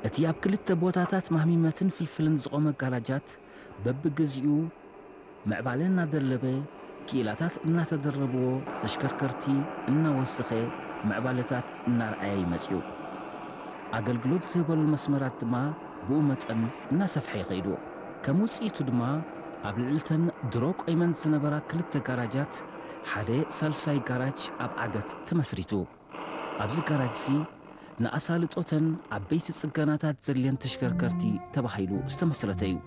እቲ ኣብ ክልተ ቦታታት ማህሚመትን ፍልፍልን ዝቖመ ጋራጃት በብግዚኡ ምዕባለ እናደለበ፣ ክኢላታት እናተደረብዎ፣ ተሽከርከርቲ እናወሰኸ፣ ምዕባለታት እናርኣየ ይመጽኡ። ኣገልግሎት ዝህበሉ መስመራት ድማ ብኡ መጠን እናሰፍሐ ይኸይዱ። ከም ውጽኢቱ ድማ ኣብ ልዕልተን ድሮ ቆይመን ዝነበራ ክልተ ጋራጃት ሓደ ሳልሳይ ጋራጅ ኣብ ዓገት ተመስሪቱ። ኣብዚ ጋራጅሲ ንኣሳልጦተን ዓበይቲ ጽገናታት ዘድልየን ተሽከርከርቲ ተባሂሉ ዝተመስረተ እዩ።